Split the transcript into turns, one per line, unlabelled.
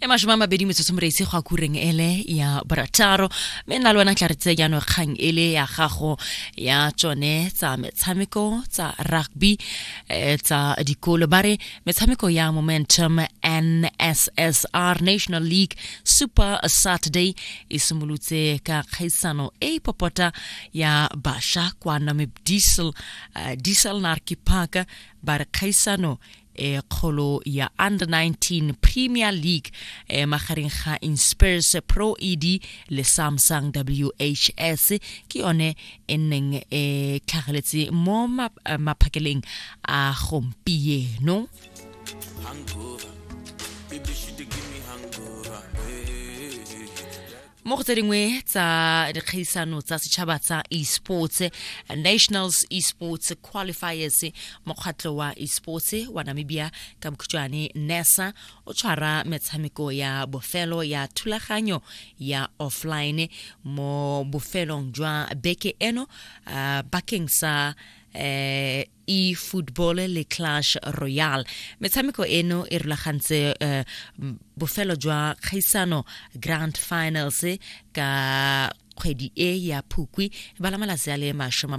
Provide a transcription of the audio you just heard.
E 20 metsotso moreitsi go akureng ele ya borataro, mme nna le wena tla re tse jaanong kgang ele ya gago ya tsone tsa metshameko tsa rugby tsa dikolo. Ba re metshameko ya Momentum NSSR National League Super Saturday e simolotse ka kgaisano e e popota ya basha kwa Namib Diesel, Diesel Narki Park. Ba re kgaisano e kgolo ya Under 19 Premier League magareng ga Inspires Pro ED le Samsung WHS ke yone e neng e tlhageletse mo maphakeleng a gompieno. Mo go tse dingwe tsa dikgaisano tsa setšhaba tsa esports, Nationals Esports Qualifiers, mokgatlho wa esports wa Namibia, ka bokhutshwane NESA, o tshwara metshameko ya bofelo ya thulaganyo ya offline mo bofelong jwa beke eno bakeng sa e-football le Clash Royale. Metshameko eno e rulagantse bofelo jwa kgaisano Grand Finals ka kgwedi e ya Phukwi, bala malatsi a le 20.